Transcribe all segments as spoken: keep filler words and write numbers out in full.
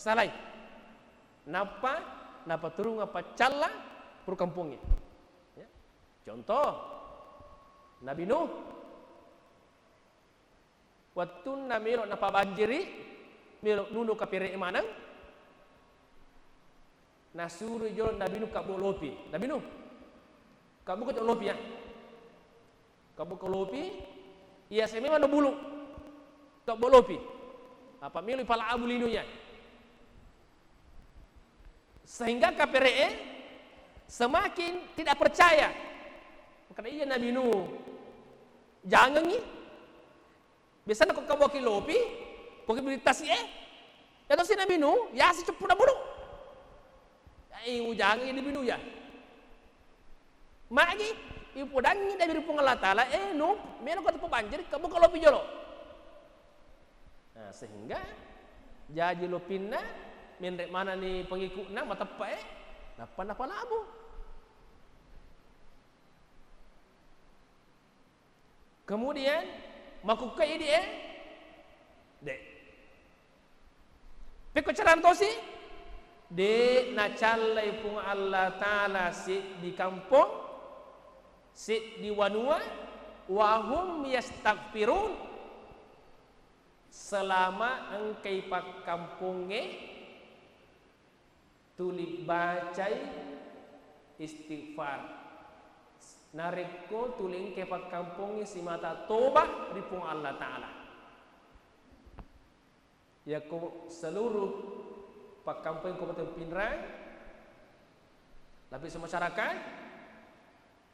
Salai. Nappa napaturunga paccalla puru kampongnge. Ya. Contoh, Nabi Nuh. Wettunna melo napabanjiri, melo nuno kapere maneng, nasuro jolo Nabi Nuh kabbo lopi. Nabi Nuh, kabbo ko lopi ya. Kabbo ko lopi, iya sememang no bulu. Kabbo lopi. Apa melo pala abu lino ya. Sehingga kapere'e semakin tidak percaya. Makanya iya Nabi Nuh jangengi. Biasanya ko kaboki lopi, ko ki beli tasi e. Ya tosi Nabi Nuh, ya si ceppu na bulu. Ya, eh, ujangengi Nabi Nuh ya. Magi, ipodangi dari Puang Allah Ta'ala, eh, Nuh, melo ko tepa banjir, kamu kalau pijolo. Nah, sehingga jaji lopinna, menre manani pengikutna, mateppa e, nappa napalabu. Kemudian, makukka idi e, de. Pekko carana tosi, de nacallai Puang Allah Ta'ala seddi kampong, seddi wanua, wahum yastaghfirun, selama engkai pakkampongnge tuli bacai istighfar. Narekko tuli engkai pakkampongnge simata toba ri Puang Allah Ta'ala. Yakko seluruh pakkampong Kabupaten Pinrang, lapis masyarakat,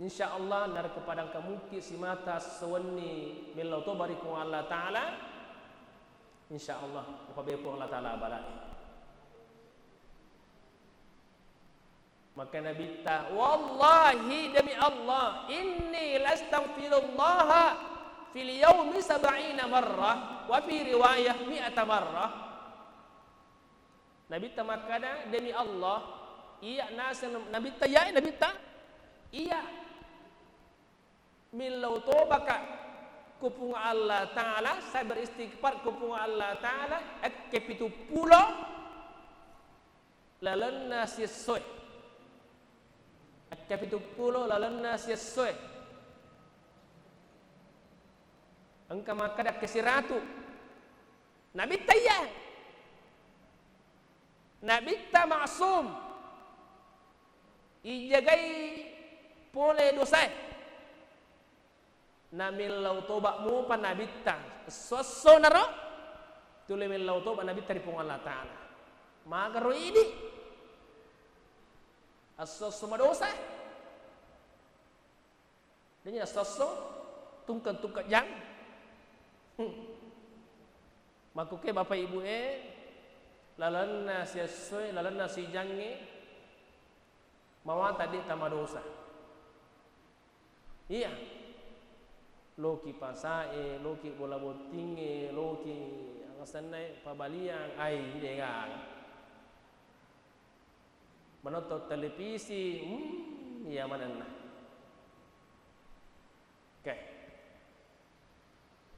insya Allah narekko pada engka mukki simata sewenni mellau toba ri Puang Allah Ta'ala, insya Allah upabeppo Allah Ta'ala bala'i. Maka Nabitta, "Wallahi, demi Allah, inni lastaghfirullaha fil yaumi sab'ina marrah, wa fi riwayah mi'ata marrah." Nabitta makkada, "Demi Allah, iya naseng Nabitta, iya Nabitta, iya millau tobaka ku Puang Allah Ta'ala, saya beristighfar ku Puang Allah Ta'ala, ekke pitu pulo lalenna siessoe." Ekke pitu pulo lalenna siessoe. Engka makkada ekke siratu. Nabitta iya. Nabitta maksum. Ijagai pole dosae. Namillau toba mupa Nabitta. Esso-esso naro tuli millau toba Nabitta ri Puang Allah Ta'ala. Magaro idi. Esso-esso madosa. Denya esso-esso tungkeng-tungkeng jang. Hmm. Makkuke Bapak Ibu e, lalenna siessoe, lalenna sijangnge, mawatang de tamadosa. Iya. Loki pasae, loki bola bottingnge, loki angasennae pabaliang, ai, degaga. Menonton televisi, hmm, iya manenna. Oke.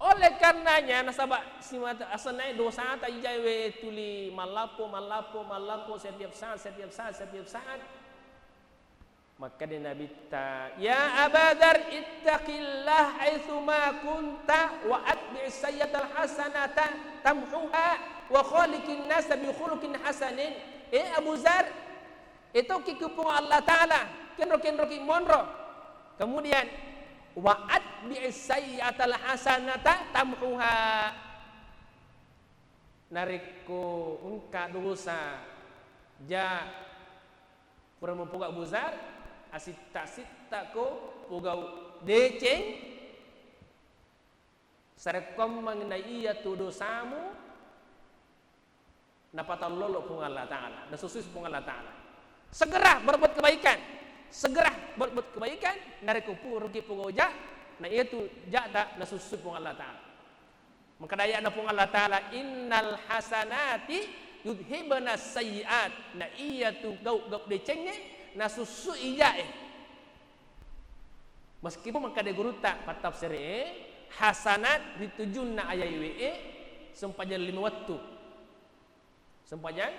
Oleh karenanya, nasaba simata asennae dosata ijai we tuli mallappo, mallappo, mallappo setiap saat, setiap saat, setiap saat. Makkeda Nabitta, "Ya Aba Dzar, ittaqillah haitsuma kunta wa atbi'is sayyi'atal hasanata tamhuha wa khaliqin nasa bi khuluqin hasanin." Eh Abu Dzar, etoki ku Puang Allah Ta'ala, kenro-kenroki monro. Kemudian, "Wa atbi'is sayyi'atal hasanata tamhuha." Narekko engka dosa, ja, pura mupoga Abu Dzar, asitta-sittako pogau deceng, sarekkoammeng na iyatu dosamu, napatallolo Puang Allah Ta'ala, nasussui Puang Allah Ta'ala. Segera berbuat kebaikan, segera berbuat kebaikan, narekko puruki pogau ja, na iyatu jata nasussui Puang Allah Ta'ala. Makkeda aya'na Puang Allah Ta'ala, "Innal hasanati yudhibna sayyi'at." Na iyatu gau-gau decengnge nasussui ijae. Meskipun makkeda gurutta pattafsir e, hasanat ritujunna ayat we e sempajang lima wettu. Sempajang